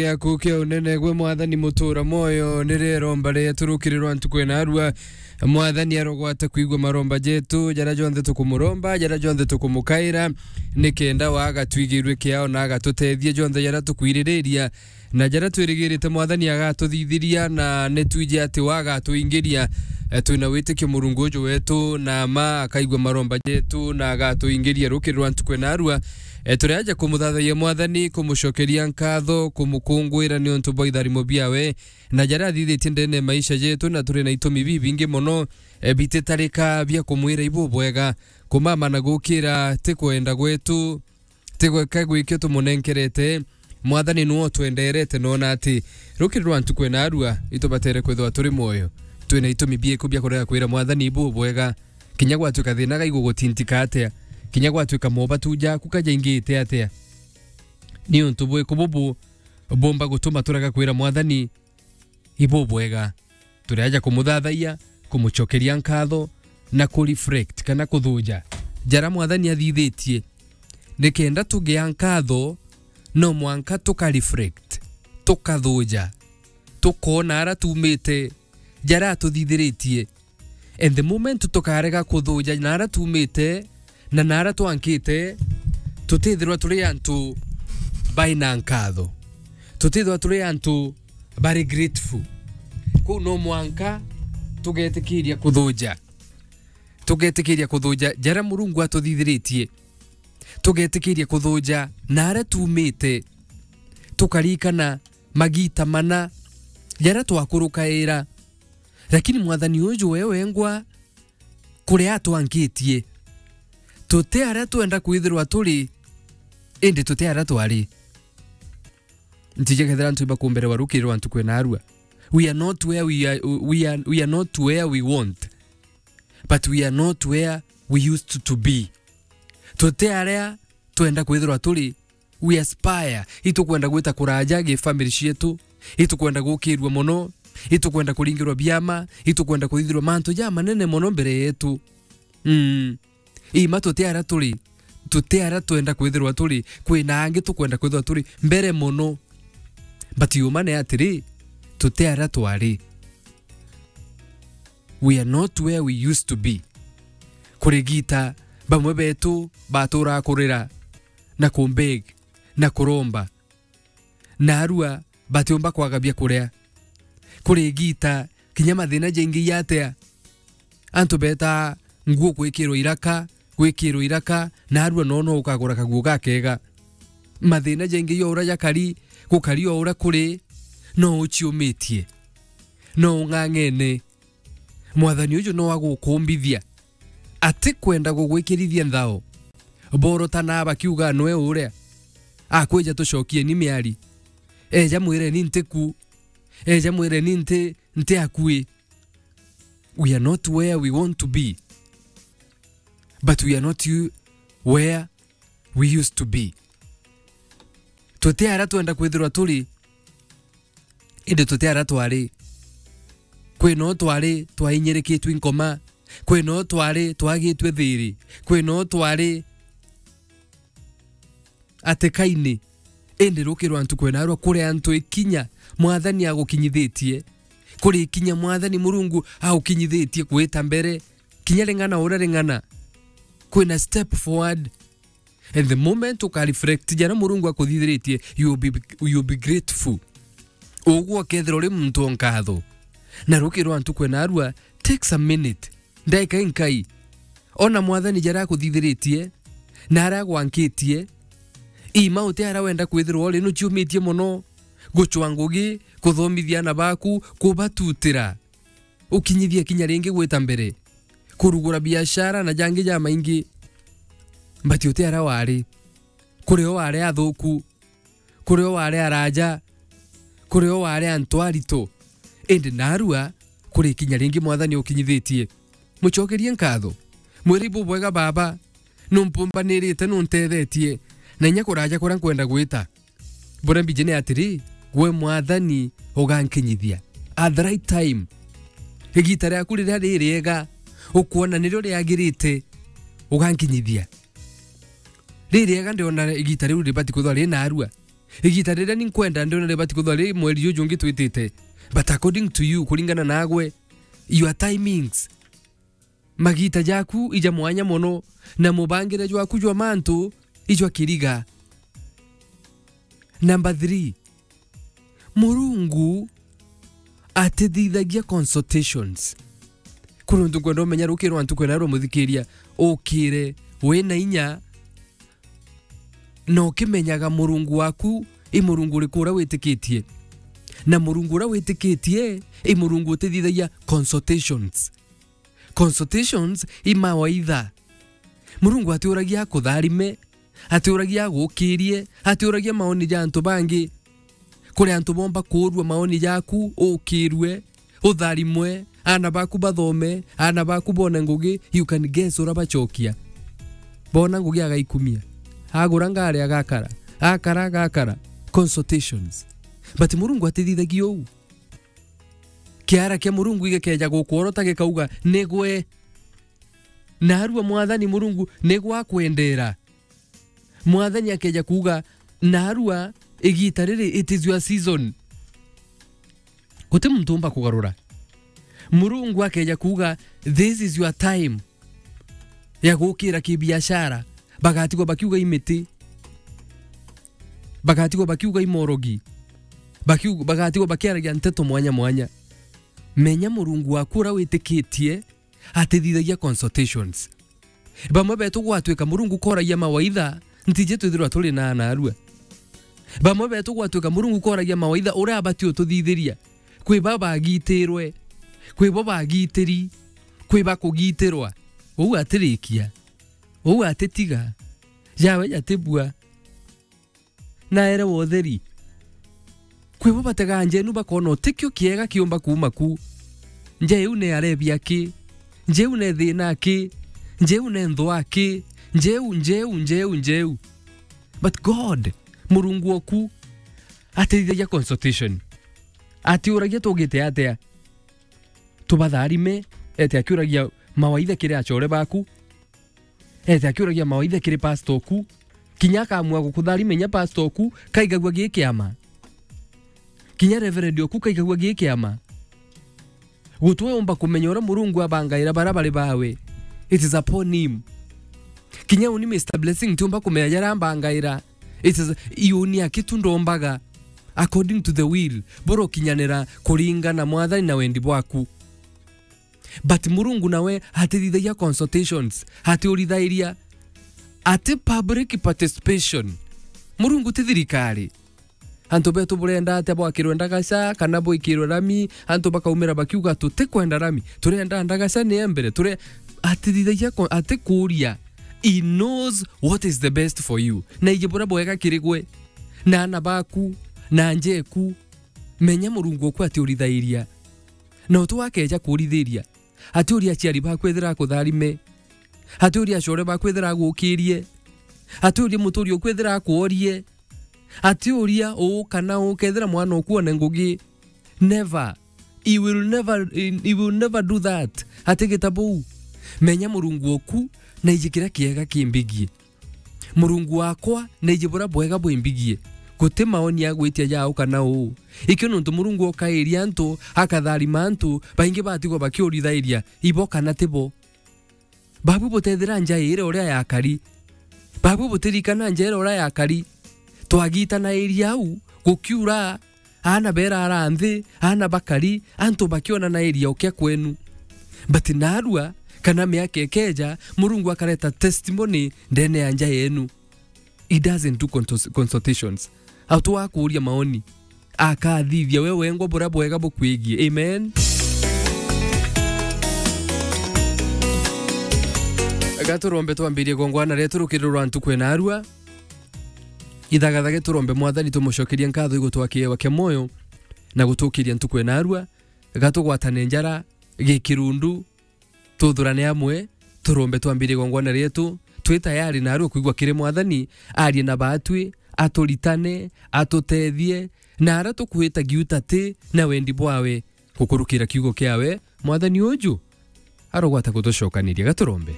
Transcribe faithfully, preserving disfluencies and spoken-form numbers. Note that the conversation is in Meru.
Giaku kia unene gwe Mwathani mutura mwoyo, ni riromba rietu rukiri rwa ntuku ina arua. Mwathani arogwata kwigua maromba jetu, jaria jonthe tukumuromba, jaria jonthe tukumukaira, ni kenda we agatwigirue kiao na agatutethia jonthe jaria tukwiririria, na jaria twirigirite Mwathani agatuthithiria, na ni twiji ati we agatuingiria. Eh, twina witikio Murungu uju wetu, na ma akaigua maromba jetu, na agatuingiria rukiri rwa ntuku ina arua. Eh, turi aja kumuthathayia Mwathani, kumucokeria nkatho, kumukungwira niuntu bwa itharimo biawe, na jaria athithitie ndene ya maisha jetu, na turi na itumi bibingi mono, eh, bititarika bia kumwira ibubwega. Kumama na gukira ti kwenda gwetu, ti gweka gwikio tumunenkerete. Mwathani niwe utwenderete, nona ati rukiri rwa ntuku ina arua itubatere kwithirwa turi mwoyo. Twina itumi biiku bia kurega kwira Mwathani ibubwega, kinya gwatuika thina gaigu gutintika atia, kinya gwatuika mobatu jaku kajaingite atia. Ni untu bwiku bubu bumba gutuma turega kwira Mwathani ibubwega? Turi aja kumuthathayia, kumucokeria nkatho, na kureflect kana kuthuja jaria Mwathani athithitie. Ni kenda tugia nkatho, no mwanka tukareflect, tukathuja, tukoona aria tumite, jaria atuthithiritie. And the moment tukarega kuthuja naria tumite na naria twankite, tutithirwa turi antu baina nkatho. Tutithirwa turi antu bari grateful. Kuu no mwanka tugetikiria kuthuja. Tugetikiria kuthuja jaria Murungu atuthithiritie. Tugetikiria kuthuja naria tumite. Tukarikana magita mana jaria twakurukaira. Lakini Mwathani uju we wengwa kuria atwankitie. Tuti aria twenda kwithirwa turi, indi tuti aria twari. Ntije kethira antu ibakumberewa rukiri rwa ntuku ina arua. We are not where we are, we are, we are not where we want, but we are not where we used to be. Tuti aria twenda kwithirwa turi, we aspire. Itukwenda gwita kuraja gi family cietu, itukwenda gukirua mono, itukwenda kuringirwa biama, itukwenda kuthithirwa mantu ja manene mono mbere yetu. Mm. Ima tuti aria turi, tuti aria twenda kwithirwa turi, kwina angi tukwenda kwithirwa turi mbere mono. But yuma ni atiri, tuti aria twari. We are not where we used to be. Kuri gita, bamwe betu baturaa kurira na kumbeg na kuromba. Naarua batiumba kwaga bia kuria. Kuri gita, kinya mathina jaingi jatia. Antu betaa nguo gwikirwa iraka, gwikirwa iraka, naarua no, no ukagura kaguo gakega. Mathina jaingi ja uria jakari, gukari o uria kuri, no uciumitie. No ung'ang'ene. Mwathani uju no agukumbithia. Atikwenda gugwikirithia nthao. Borotana bakiuga nwe uria. Akwija tucokieni miari. Eja mwireni ntiku. Eja mwireni nti, nti akui. We are not where we want to be. But we are not you, where we used to be. Tuti aria twenda kwithirwa turi, indi tuti aria twari. Kwina o twari twainyirikitwe nkoma, kwina o twari twagitwe thiri, kwina o twari atikaini, indi rukirwa ntuku ina arua kuri antu ikinya Mwathani agukinyithitie, kuri ikinya Mwathani Murungu agukinyithitie gwita mbere, kinya ring'ana uria ring'ana, kwina step forward. And the moment uka reflect jaria Murungu akuthithiritie, you will be, you will be grateful. Ugwe ukethirwa uri muntu o nkatho. Na rukirwa ntuku ina arua, takes a minute. Ndaika inkai. Ona Mwathani jaria akuthithiritie, na aria agwankitie, ima uti aria wenda kwithirwa uri, nuciumitie mono, gucwa ngugi, kuthomithia ana baku, kubatutira. Ukinyithia kinya ringi gwita mbere, kurugura biashara na jangi jamaingi. But uti aria wari. Kuri o wari athuku, kuri o wari araja, kuri o wari antu aritu. Indi narua, kuri kinya ringi Mwathani ukinyithitie. Mucokerie nkatho. Mwire, ibubwega Baba, numpumbanirite, nuntethetie, na inya kuraja kuria nkwenda gwita. Buria mbiji ni atiri, gwe Mwathani ugankinyithia at the right time. Igita riaku riria ririega, ukwona nirio riagirite, ugankinyithia. Ririega ndiona igita riu ribati kwithwa ri narua. Igita riria ni nkwenda ndiona ribati kuthwa ri mweri juju ungi twitite. But according to you, kuringana nagwe, your timings, magita jaku ija mwanya mono, na mubangire jwaku jwa mantu ijwa kiriga. Number three, Murungu atithithagia consultations. Kuri untu nkwenda umenya rukiri rwa ntuku ina rwa muthikiria, ukire wina inya, na ukimenyaga Murungu waku i Murungu uriku uria witikitie. Na Murungu uria witikitie i Murungu utithithagia consultations. Consultations i mawaitha. Murungu atiuragia akutharime, atiuragia agukirie, atiuragia maoni ja antu bangi. Kuri antu bomba kuurua maoni jaku, ukirue, utharimwe, aana baku bathome, aana baku bone ngugi, you can guess uria bachokia. Bona ngugi agaikumia. Agura ngari agakara, akara agakara. Consultations. But Murungu atithithagia uu. Kiara kia Murungu gikeja gukworota gikauga, "Nigwe." Narua Mwathani Murungu nigwe akwendera. Mwathani akeja kuuga, "Narua igita riri, it is your season." Guti muntu umba kugarura. Murungu akeja kuuga, "This is your time ya gukira kibiashara." Bagatigwa bakiuga imiti. Bagatigwa bakiuga imorogi. Bakiu-, bagatigwa bakiaragia nteto mwanya mwanya. Menya Murungu waku uria witikitie atithithagia consultations. Bamwe betu gwatwika Murungu koragia mawaitha, ntiji twithirwa turi na narua. Bamwe betu gwatwika Murungu koragia mawaitha uria abati ututhithiria. Kwi ba bagitirwe, kwi bo bagitiri, kwi ba kugitirwa. Uu atirikia, uu atitiga, jawe jatibua. Naere wa utheri. Kwi bo bategaa nja inu bakona utikio kiega kiumba kuuma ku. Nja iu ne arebia ki? Nja iu ne thina ki? Nja iu ne nthwa ki? Nja iu, nja iu, nja iu, nja iu. But God, Murungu oku, atithithagia consultation. Atiuragia tugite atia? Tubatharime, ete akiuragia mawaitha kiri achore baku. Ete akiuragia mawaitha kiri pastor oku. Kinya akamua gukutharima inya pastor oku, kaigagua gi kiama. Kinya reverend oku kaigagua gi kiama. Gutwe umba kumenya uria Murungu abangaira baria bari bawe. It is upon him. Kinya uni Mister Blessing tiumba kumenya jaria ambangaira. It is, iuni aki tu ndombaga according to the will, burokinyanira kuringana Mwathani na wendi bwaku. But Murungu nawe atithithagia consultations, atiurithairia, ati public participation. Murungu ti thirikari. Antu betu burenda atia bwakirwe ndagaca kana bwikirwe rami, antu bakaumira bakiuga, "Tutikwenda rami, turenda ndagaca ni ya mbere, ture-," atithithagia ko-, atikuria. He knows what is the best for you. Na iji buria bwega kiri gwe, na ana baku, na njeku. Menya Murungu oku atiurithairia. Na utu akeja kurithiria, atiuria aciari baku ethira akutharime, atiuria acore baku ethira agukirie, atiuria muturi oku ethira akworie, atiuria uu kana uu kethira mwana oku one ngugi. Never. He will never, he will never do that. Atigita buu. Menya Murungu oku, na iji kiria kiega kimbigie. Murungu wakwa, na iji buria bwega bwimbigie. Guti maoni agwitia jau kana uu. Ikio nontu Murungu okairia antu, akatharima antu, baingi batigwa bakiurithairia, ibo kana tibo. Babu butethira nja iri uria yakari. Babu butirikana nja iri uria yakari. Twagitanairia au, gukiura, aana berara nthi, aana bakari, antu bakionanairia ukia kwenu. But narua, kana miaka ikeja, Murungu akareta testimony ndene ya nja yenu. He doesn't do contos-, consultations. Atu akuuria maoni. Akathithia we wengwa buria bwega bukwigie. Amen. Gaturombe twambirie gongwana rietu rukiri rwa ntuku ena arua. Ithagathage turombe Mwathani tumucokerie nkatho igutwa kiewa kia moyo na gutukiria ntuku ena arua. Gatugwatane njara gikirundu, tuthurane amwe, turombe twambirie gongwana rietu, twi tayari narua kwigua kiri Mwathani, arie na batwi, aturitane, atutethie, na aria tukwita giuta ti na wendi bwawe, gukurukira kiugo kiawe, Mwathani uju arogwata gutucokaniria. Gaturombe.